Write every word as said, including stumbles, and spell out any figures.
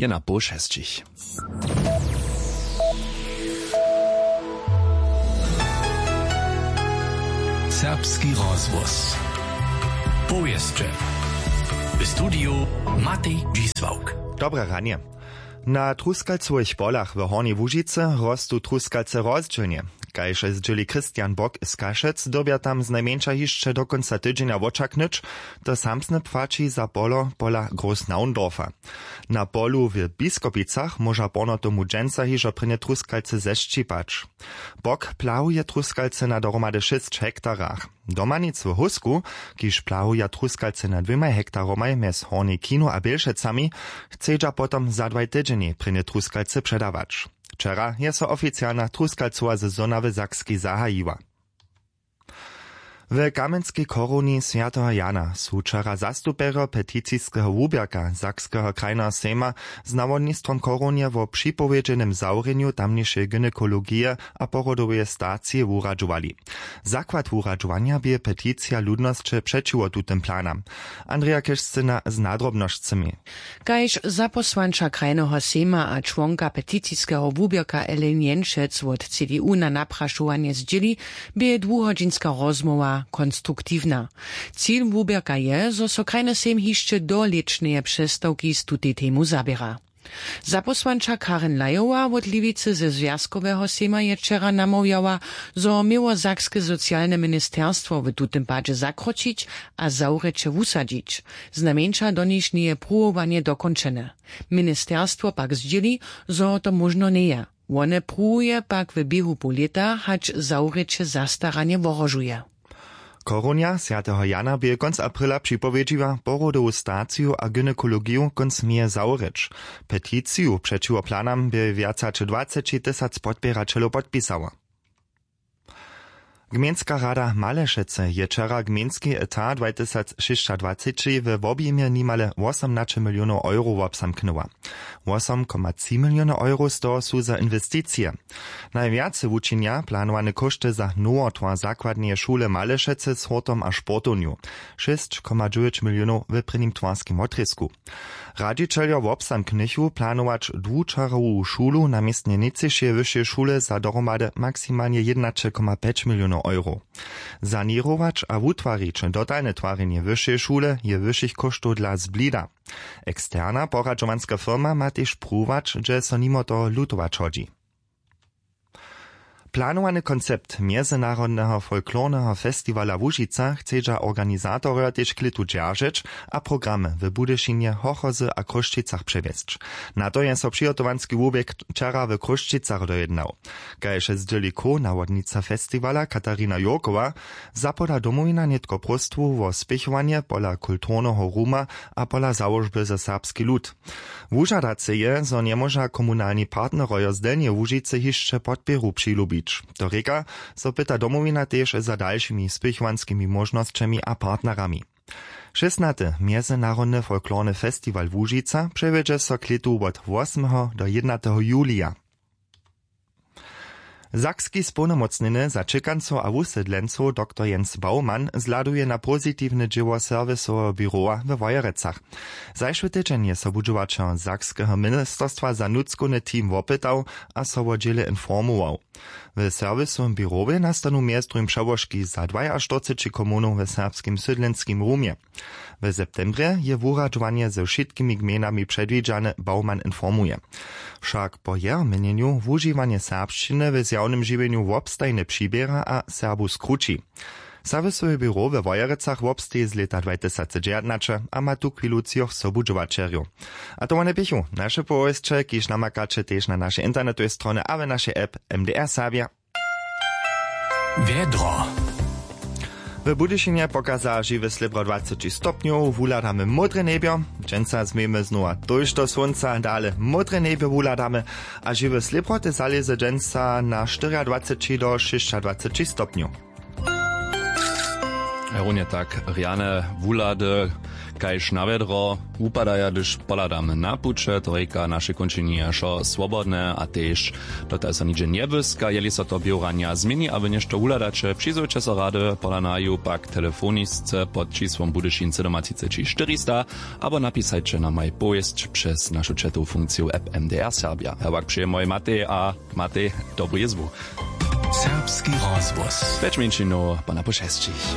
je na poł šesćich. Serbski rozhłos. Powěsće. W studiju Matej Dźisławk. Dobre ranje. Na truskalcowych polach w Hornjej Łužicy rostu truskalce rozdźělnje. Kaž zdźěli Christian Bock z Kašec, dyrbja tam znajmjeńša hišće do kónca tydźenja wočaknyć. To samsne płaći za polo pola Großnaundorfa. Na polu w Biskopicach móža porno tomu dźensa hižo prěnje truskalce zesćipać. Bock plahuje truskalce na dohromady šěsć hektarach. Domanic w Hósku, kiž plahuja truskalce na dwěmaj hektaromaj mjez Hornjej Kinu a Bělšecami, chcedźa potom za dwaj tydźenjej prěnje truskalce předawać. Wčera je so oficialna truskalcowa sezona w Sakskej zahajiła. W Kamjenskej chorowni swjateho Jana su wčera zastupjerjo peticiskeho wuběrka Sakskeho krajneho sejma z nawodnistwom chorownje wo připowědźenym zawrjenju tamnišeje gynekologije a porodoweje stacije wuradźowali. Zakład wuradźowanja bě peticija ludnosće přećiwo tutym planam. Andrea Kešcyna z nadrobnosćemi. Kaž zapósłanča krajneho sejma a čłonka peticiskeho wuběrka Ellen Jenšec wot C D U na naprašowanje zdźěli, bě dwuhodźinska rozmołwa konstruktiwna. Cil wuběrka je, zo so krajny sejm hišće do lěćneje přestawki z tutej temu zaběra. Zapósłanča Karen Lajowa wot Lewicy ze zwjazkoweho sejma je wčera namołwjała, zo měło sakske socialne ministerstwo w tutym padźe zakročić a zawrjeće wusadźić. Znajmjeńša donišneje pruwowanje dokónčene. Ministerstwo pak zdźěli, zo to móžno njeje. Wone pruwuje pak w běhu poł lěta, hač zawrjeće zastaranje wohrožuje. Chorownja swjateho Jana bě kónc aprila připowědźiła porodowu staciju a gynekologiju kónc meje zawrěć. Peticiju přećiwo planam bě wjac hač dwaceći tysac podpěraćelow podpisało. Gmejnska rada Malešecy je wčera gmejnski etat dwajtysacšěsćadwaceći we wobjimje nimale wosomnaće milionow euro wobzamknyła. Wosom koma tři miliony euro z toho su za inwesticije. Najwjace wučinja planowane kóšty za nowotwar zakładneje šule Malešecy z hurtom a sportownju, šěsć koma dźewjeć milionow w prěnim twarskim wotrězku. Radźićeljo wobzamknychu planować dwučarowu šulu na městnje nětřišeje wyšeje šule za dohromady maksimalnje jědnaće koma pjeć milionow euro. Saněrować a wutwarić dotalne twarjenje wyšeje šule je wyšich kóštow dla zblida. Eksterna poradźowanska firma ma tež pruwować, hdźe so nimo toho lutować hodźi. Planowany koncept mjezynarodneho folklorneho festiwala Łužica chcedźa organizatorjo tež klětu dźeržeć a programy w Budyšinje, Hochozy a Chrósćicach přewjesć. Na to je so přihotowanski wuběk wčera w Chrósćicach dojednał. Kaž zdźěli co nawodnica festiwala Katarina Jurkowa, zapoda Domowina nětko próstwu wo spěchowanje pola kulturneho ruma a pola załožby za serbski lud. Wužadace je, zo njemóža komunalni partnerojo z Delnjeje Łužicy hišće podpěru přilubić. To rěka, zo pyta Domowina tež za dalšimi spěchowanskimi móžnosćemi a partnerami. Šěsnaty mjezynarodny folklorny festiwal Łužica přewjedźe so klětu wot wosmeho do jědnateho julija. Sakski społnomócnjeny za ćěkancow a wusydlencow doktor Jens Baumann zhladuje na pozitiwne dźěło serwisoweho běrowa we Wojerecach. Zašły tydźeń je so wudźěłaćer sakskeho ministerstwa za nutřkowny team wopytał a so wo dźěle informował. W serwisowym běrowje nastanu mjez druhim přełožki za dwajaštyrceći komunow w serbskim sydlenskim rumje. W septembrje je wuradźowanje ze wšitkimi gmejnami předwidźane, Baumann informuje. Wšak po jeho měnjenju wužiwanje serbšćiny w zjawnym žiwjenju wobstajnje přiběra a Serbow skrući. Serwisowe běro we Wojerecach wobsteji z lěta dwajtysacdźewjatnaće a ma tuchwilu třoch sobudźěłaćerjow. A to wone běchu naše powěsće, kiž namakaće tež na našej internetowej stronje a w našej app M D R Serbja. Wjedro. W Budyšinje pokaza žiwe slěbro dwaceći stopnjow, wuhladamy módre njebjo. Dźensa změjemy znowa tójšto słónca, dale módre njebjo wuhladamy a žiwe slěbro te zalěze dźensa na štyriadwaceći do šěsćadwaceći stopnjow. Runje tak rjane wuhlady kaž na wjedro wupadaja, hdyž pohladamy na puće, to rěka naše kónčenje je wšo swobodne a tež dotal so nihdźe njebłyska. Jeli so to běranja změni abo něšto wuhladaće, přizwójće so rady pola naju pak telefonisce pod čisłom Budyšin sydomatřiceći štyrista abo napisajće na maj powěsć přez našu četowu funkciju app M D R Serbia. Hewak přeje moj Matej a Matej dobru jězbu. Serbski rozhłos. Pjeć mjeńšinow po napoł šesćich.